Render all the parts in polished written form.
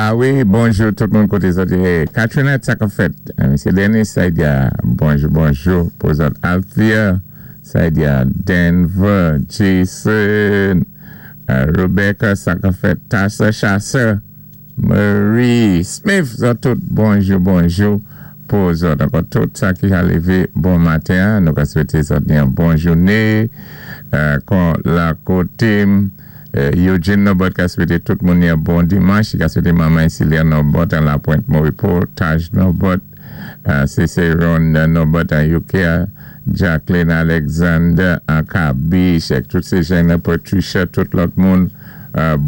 Ah wi, bonjou tout moun koté zòt yé. Katrina, sa k fèt? Misyé Dennis, sa di bonjou, bonjou pou zòt. Althea, sa di Denver, Jason, Rebecca, sa k fèt? Tassa Chasseur, Marie Smith, zòt tout, bonjou, bonjou pou zòt. Ankò tout sa ki ka lévé bon maten, nou ka swété zòt yon bon jouné. Kon la koté Eugene Nobot ka swété tout moun yon bon dimanch. Ka swété manman Cilia Nobot an La Pointe Moripo, Taj Nobot, Cicéron Nobot an UK, Jacqueline Alexander an Kabish, tout sé jèn, Patricia, tout lòt moun,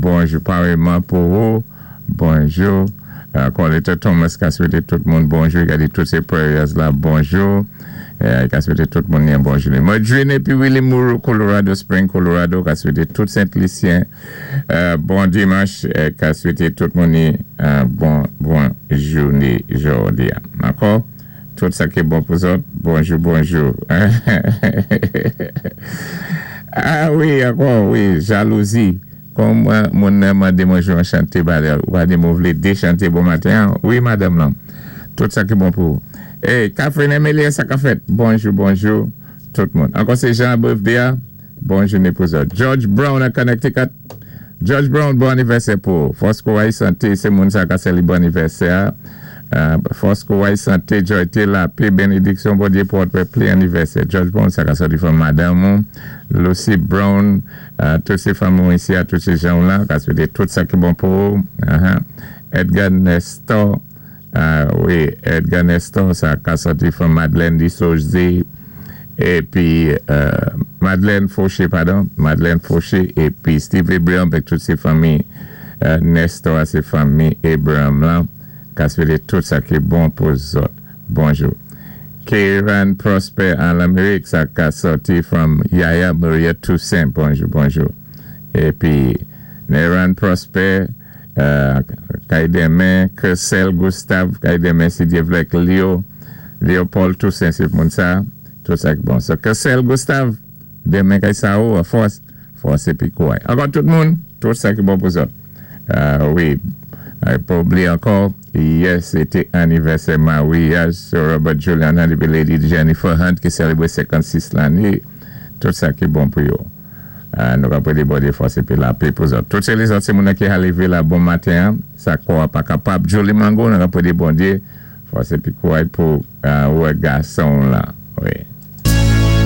bonjou pareman pou ou, bonjou. Coletta Thomas ka swété tout moun bonjou, ka di tout sé prayers la bonjou. Ka swété tout moun yon bonjou. Madrine épi Willie Moore, Colorado Spring, Colorado, ka swété tout Saint-Lucien bon dimanch, ka swété tout moun bon bon jouné jòdi. Ankò? Tout sa ki bon pou zòt, bonjou, bonjou. Ah wi, ankò, wi, jalouzi. Kòm moun nan mandé mwen jwé yon chanté, ou pa di mwen vlé dé chanté bon maten. Wi, madanm lan. Tout sa ki bon pou ou. Hey, Catherine Emilia, sa k fèt? Bonjou, bonjou, tout moun. Ankò sé Jean birthday, bon jouné pou zòt. George Brown an Connecticut. George Brown, bon anivèsè pou ou. Fòs kouray santé, sé moun sa ka sé bon anivèsè. Fòs kouray santé, joy, lapè, bénédiksyon, Bondyé pou wè plen anivèsè. George Brown, sa ka sòti from madanm Lucy Brown, tout sé fanmi isi, tout sé jan la, ka swété tout sa ki bon pou ou. Edgar Nestor, wi, Edgar Nestor, sa ka sòti from Madeleine Dissosé, épi Madeleine Fauché, padon, Madeleine Fauché, épi Steve Abraham, avèk tout sé fanmi Nestor, sé fanmi Abraham la, ka swété tout sa ki bon pou zòt. Bonjou. Kieran Prosper an Lamérik, sa ka sòti from Yaya Maria Toussaint. Bonjou, bonjou. Épi Neran Prosper, kay denmen, Kersel Gustave, kay denmen, si Dye vlé, Leo, Léopold Toussaint, sé moun sa, tout sa ki bon. So, Kersel Gustave, denmen kay sa ou, fòs, fòs épi kouray. Ankò tout moun, tout sa ki bon pou zòt. Wi, pa oubliyé ankò, yè sé té anivèsè maryaj Sir Robert Julian Hunt épi Lady Jennifer Hunt ki sélébwé 56 lanné. Tout sa ki bon pou yo. Nou ka pwédé Bondyé fòs épi lapè pou zòt. Tout sé lézòt sé moun ki lévé la bon maten, sa kò pa kapab. Jolie Mango, nou ka pwédé Bondyé fòs épi kouray pou wè gason la. Wi.